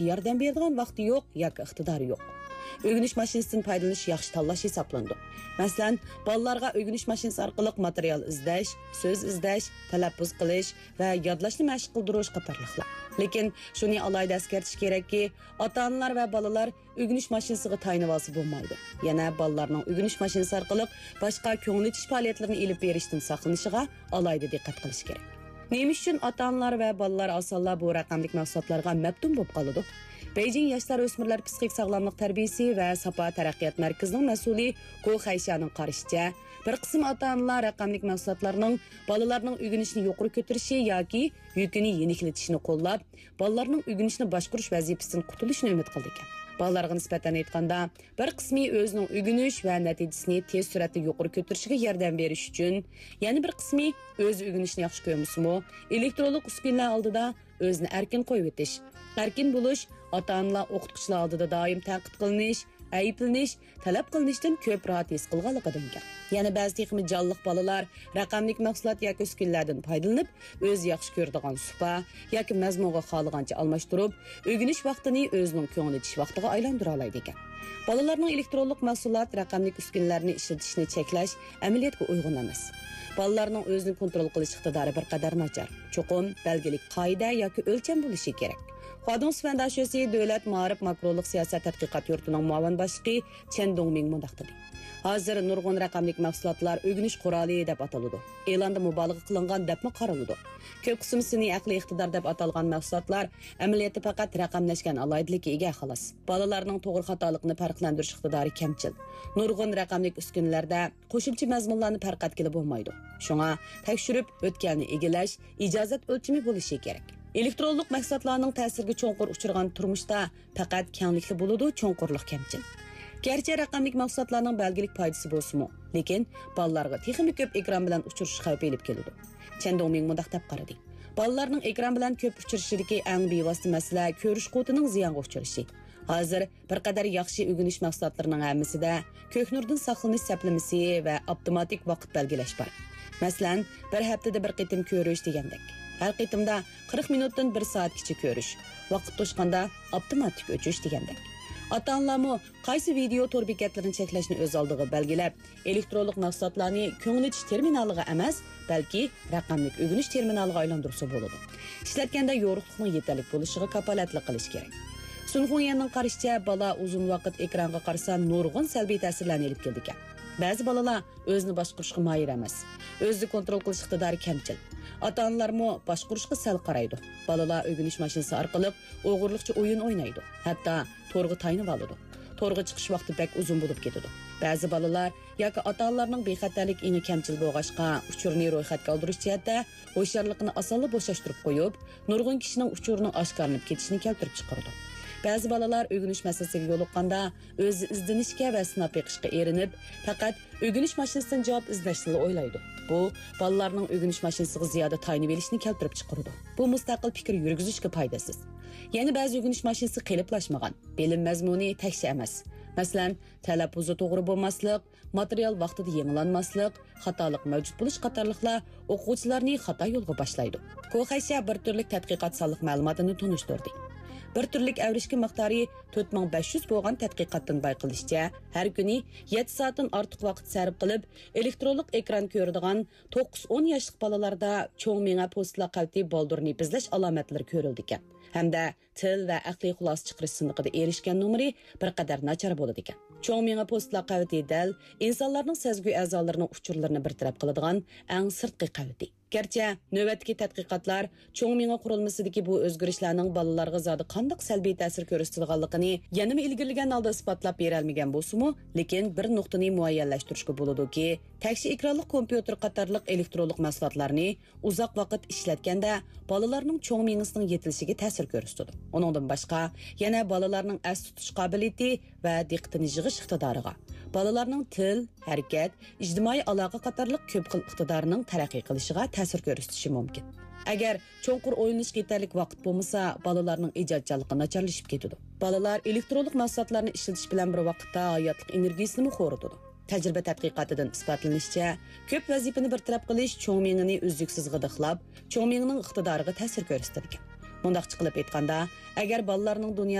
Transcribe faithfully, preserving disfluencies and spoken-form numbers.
ياردەم بېرىدىغان ۋاقتى يوق ياكى ئىقتىدارى يوق. ئۆگىنىش ماشىنىسىدىن پايدىلىنىش ياخشى تاللاش ھېسابلىنىدۇ. مەسىلەن، بالىلارغا ئۆگىنىش ماشىنىسى ئارقىلىق ماتېرىيال ئىزدەش، سۆز ئىزدەش، تەلەپپۇز قىلىش ۋە يادلاشنى مەشىق قىلدۇرۇش قاتارلىقلار. لېكىن شۇنى ئالاھىدە ئەسكەرتىش كېرەككى، ئاتا-ئانىلار ۋە بالىلار ئۆگىنىش ماشىنىسىغا تايىنىۋالسا بولمايدۇ. يەنە بالىلارنىڭ ئۆگىنىش ماشىنىسى ئارقىلىق باشقا كۆڭۈل ئېچىش پائالىيەتلىرىنى ئېلىپ بېرىشتىن ساقلىنىشىغا ئالاھىدە دىققەت قىلىش كېرەك. نېمە ئۈچۈن ئاتا-ئانىلار ۋە بالىلار ئاسانلا بۇ رەقەملىك مەھسۇلاتلارغا مەپتۇن بولۇپ قالىدۇ؟ بېيجىڭ ياشلار ئۆسمۈرلەر پسىخىك ساغلاملىق تەربىيىسى ۋە ساپا تەرەققىيات مەركىزىنىڭ مەسئۇلى گو خەيشيانىڭ قارىشىچە، بىر قىسىم ئاتا-ئانىلار رەقەملىك مەھسۇلاتلارنىڭ بالىلارنىڭ ئۆگىنىشىنى يۇقىرى كۆتۈرۈشى ياكى يۈكىنى يېنىكلىتىشىنى قوللاپ، بالىلارنىڭ ئۆگىنىشنى باشقۇرۇش ۋەزىپىسىدىن قۇتۇلۇشىنى ئۈمىد قىلىدىكەن. بالىلارغا نىسبەتەن ئېيتقاندا، بىر قىسمى ئۆزىنىڭ ئۆگىنىش ۋە نەتىجىسىنى تېز سۈرئەتتە يۇقىرى كۆتۈرۈشىگە ياردەم بېرىش ئۈچۈن، يەنە بىر قىسمى ئۆزى ئۆگىنىشنى ياخشى كۆرمىسىمۇ، ئېلېكترونلۇق ئۈسكۈنىلەر ئالدىدا ئۆزىنى ئەركىن قويۇۋېتىش، ئەركىن بولۇش، ئاتا-ئانىلار، ئوقۇتقۇچىلار ئالدىدا دائىم تەنقىد قىلىنىش، ئەيىبلىنىش، تەلەپ قىلىنىشتىن كۆپ راھەت ھېس قىلغانلىقىدىن كەل. يەنە بەزى تېخىمۇ جانلىق بالىلار رەقەملىك مەھسۇلات ياكى ئۈسكۈنىلەردىن پايدىلىنىپ، ئۆزى ياخشى كۆرىدىغان سۇپا ياكى مەزمۇنغا خالىغانچە ئالماشتۇرۇپ، ئۆگىنىش ۋاقتىنى ئۆزىنىڭ كۆڭۈل ئېچىش ۋاقتىغا ئايلاندۇرالايدىكەن. بالىلارنىڭ ئېلېكترونلۇق مەھسۇلات، رەقەملىك ئۈسكۈنىلەرنى ئىشلىتىشىنى چەكلەش ئەمەلىيەتكە ئۇيغۇن ئەمەس. بالىلارنىڭ ئۆزىنى كونترول قىلىش ئىقتىدارى بىر قەدەر ناچار. چوقۇم بەلگىلىك قائىدە ياكى ئۆلچەم بولۇشى كېرەك. خۇادۇڭ سۈفەن داشۆسى دۆلەت مائارىپ ماكرولۇق سىياسەت تەتقىقات يۇرتىنىڭ مۇئاۋىن باشلىقى چەن دۇڭمىڭ مۇنداق دېدى: ھازىر نۇرغۇن رەقەملىك مەھسۇلاتلار ئۆگىنىش قورالى دەپ ئاتىلىدۇ. ئېلاندا مۇبالىغە قىلىنغان دەپمۇ قارىلىدۇ. كۆپ قىسىم سۈنئىي ئەقلىي ئىقتىدار دەپ ئاتالغان مەھسۇلاتلار ئەمەلىيەتتە پەقەت رەقەملەشكەن ئالاھىدىلىككە ئىگە، خالاس. بالىلارنىڭ توغرا خاتالىقىنى پەرقلەندۈرۈش ئىقتىدارى كەمچىل. نۇرغۇن رەقەملىك ئۈسكۈنىلەردە قوشۇمچە مەزمۇنلارنى پەرق ئەتكىلى بولمايدۇ. شۇڭا تەكشۈرۈپ ئۆتكەلنى ئىگىلەش ئىجازەت ئۆلچىمى بولۇشى كېرەك. ئېلېكترونلۇق مەھسۇلاتلارنىڭ تەسىرىگە چوڭقۇر ئۇچرىغان تۇرمۇشتا پەقەت كەڭلىكلا بولىدۇ، چوڭقۇرلۇق كەمچىل. گەرچە رەقەملىك مەھسۇلاتلارنىڭ بەلگىلىك پايدىسى بولسىمۇ، لېكىن بالىلارغا تېخىمۇ كۆپ ئېكران بىلەن ئۇچرىشىش خەۋپى ئېلىپ كېلىدۇ. چەن دۇڭمىڭ مۇنداق دەپ قارىدى: بالىلارنىڭ ئېكران بىلەن كۆپ ئۇچرىشىشىدىكى ئەڭ بىۋاسىتە مەسىلە كۆرۈش قۇۋۋىتىنىڭ زىيانغا ئۇچرىشى. ھازىر بىر قەدەر ياخشى ئۆگىنىش مەھسۇلاتلىرىنىڭ ھەممىسىدە كۆكنۇردىن ساقلىنىش سەپلىمىسى ۋە ئاپتوماتىك ۋاقىت بەلگىلەش بار. مەسىلەن، بىر ھەپتىدە بىر قېتىم كۆرۈش دېگەندەك. ھەر قېتىمدا قىرىق مىنۇتتىن بىر سائەتكىچە كۆرۈش. ۋاقىت توشقاندا ئاپتوماتىك ئۆچۈش دېگەندەك. ئاتا-ئانىلارمۇ قايسى ۋىدېئو تور بېكەتلىرىنى چەكلەشنى ئۆز ئالدىغا بەلگىلەپ، ئېلېكترونلۇق مەھسۇلاتلارنى كۆڭۈل ئېچىش تېرمىنالىغا ئەمەس، بەلكى رەقەملىك ئۆگىنىش تېرمىنالىغا ئايلاندۇرسا بولىدۇ. ئىشلەتكەندە يورۇقلۇقنىڭ يېتەرلىك بولۇشىغا كاپالەتلىك قىلىش كېرەك. سۇن خۇڭيەننىڭ قارىشىچە، بالا ئۇزۇن ۋاقىت ئېكرانغا قارىسا، نۇرغۇن سەلبىي تەسىرلەرنى ئېلىپ كېلىدىكەن. بەزى بالىلار ئۆزىنى باشقۇرۇشقا ماھىر ئەمەس، ئۆزىنى كونترول قىلىش ئىقتىدارى كەمچىل. ئاتا-ئانىلارمۇ باشقۇرۇشقا سەل قارايدۇ. بالىلار ئۆگىنىش ماشىنىسى ئارقىلىق ئوغرىلىقچە ئويۇن ئوينايدۇ. ھەتتا تورغا تايىنىۋالىدۇ. تورغا چىقىش ۋاقتى بەك ئۇزۇن بولۇپ كېتىدۇ. بەزى بالىلار ياكى ئاتا-ئانىلارنىڭ بىخەتەرلىك ئېڭى كەمچىل بولغاچقا، ئۇچۇرنى رويخەتكە ئالدۇرۇش جەھەتتە ھوشيارلىقىنى ئاسانلا بوشاشتۇرۇپ قويۇپ، نۇرغۇن كىشىنىڭ ئۇچۇرىنىڭ ئاشكارىلىنىپ كېتىشىنى كەلتۈرۈپ چىقىرىدۇ. بەزى بالىلار ئۆگىنىش مەسىلىسىگە يولۇققاندا، ئۆزى ئىزدىنىشكە ۋە سىناپ بېقىشقا ئېرىنىپ، پەقەت ئۆگىنىش ماشىنىسىدىن جاۋاب ئىزدەشنىلا ئويلايدۇ. بۇ بالىلارنىڭ ئۆگىنىش ماشىنىسىغا زىيادە تايىنىۋېلىشىنى كەلتۈرۈپ چىقىرىدۇ. بۇ مۇستەقىل پىكىر يۈرگۈزۈشكە پايدىسىز. يەنە بەزى ئۆگىنىش ماشىنىسى قېلىپلاشمىغان، بىلىم مەزمۇنى تەكشى ئەمەس. مەسىلەن، تەلەپپۇزى توغرا بولماسلىق، ماتېرىيال ۋاقتىدا يېڭىلانماسلىق، خاتالىق مەۋجۇت بولۇش قاتارلىقلار ئوقۇغۇچىلارنى خاتا يولغا باشلايدۇ. كوخەيشيا بىر تۈرلۈك تەتقىقات سانلىق مەلۇماتىنى تونۇشتۇردى. بىر تۈرلۈك ئەۋرىشكە مىقدارى تۆت مىڭ بەش يۈز بولغان تەتقىقاتتىن بايقىلىشىچە، ھەر كۈنى يەتتە سائەتتىن ئارتۇق ۋاقىت سەرپ قىلىپ، ئېلېكترونلۇق ئېكران كۆرىدىغان توققۇز ئون ياشلىق بالىلاردا چوڭ مېڭە پوستىلا قەۋىتى بالدۇرنى بېزەش ئالامەتلىرى كۆرۈلىدىكەن. ھەمدە تىل ۋە ئەقلىي خۇلاسە چىقىرىش سىنىقىدا ئېرىشكەن نومۇرى بىر قەدەر ناچار بولىدىكەن. چوڭ مېڭە پوستىلا قەۋىتى دەل ئىنسانلارنىڭ سەزگۈ ئەزالىرىنىڭ ئۇچۇرلىرىنى بىر تەرەپ قىلىدىغان ئەڭ سىرتقى قەۋىتى. گەرچە نۆۋەتتىكى تەتقىقاتلار چوڭ مېڭە قۇرۇلمىسىدىكى بۇ ئۆزگىرىشلەرنىڭ بالىلارغا زادى قانداق سەلبىي تەسىر كۆرسىتىدىغانلىقىنى يەنىمۇ ئىلگىرىلىگەن ھالدا ئىسپاتلاپ بېرەلمىگەن بولسىمۇ، لېكىن بىر نۇقتىنى مۇئەييەنلەشتۈرۈشكە بولىدۇكى، تەكشى ئېكرانلىق كومپيۇتېر قاتارلىق ئېلېكترونلۇق مەھسۇلاتلارنى ئۇزاق ۋاقىت ئىشلەتكەندە، بالىلارنىڭ چوڭ مېڭىسىنىڭ يېتىلىشىگە تەسىر كۆرسىتىدۇ. ئۇنىڭدىن باشقا، يەنە بالىلارنىڭ ئەس تۇتۇش قابىلىيىتى ۋە دىققىتىنى يىغىش ئىقتىدارىغا، بالىلارنىڭ تىل، ھەرىكەت، ئىجتىمائىي ئالاقە قاتارلىق كۆپ خىل ئىقتىدارىنىڭ تەرەققىي قىلىشىغا تەسىر كۆرسىتىشى مۇمكىن. ئەگەر چوڭقۇر ئويلىنىشقا يېتەرلىك ۋاقىت بولمىسا، بالىلارنىڭ ئىجادچانلىقى ناچارلىشىپ كېتىدۇ. بالىلار ئېلېكترونلۇق مەھسۇلاتلارنى ئىشلىتىش بىلەن بىر ۋاقىتتا ھاياتلىق ئېنېرگىيىسىنىمۇ خورىتىدۇ. تەجرىبە تەتقىقاتىدىن ئىسپاتلىنىشىچە، كۆپ ۋەزىپىنى بىر تەرەپ قىلىش چوڭ مېڭىنى ئۈزلۈكسىز غىدىقلاپ، چوڭ مېڭىنىڭ ئىقتىدارىغا تەسىر كۆرسىتىدىكەن. مۇنداقچە قىلىپ ئېيتقاندا، ئەگەر بالىلارنىڭ دۇنيا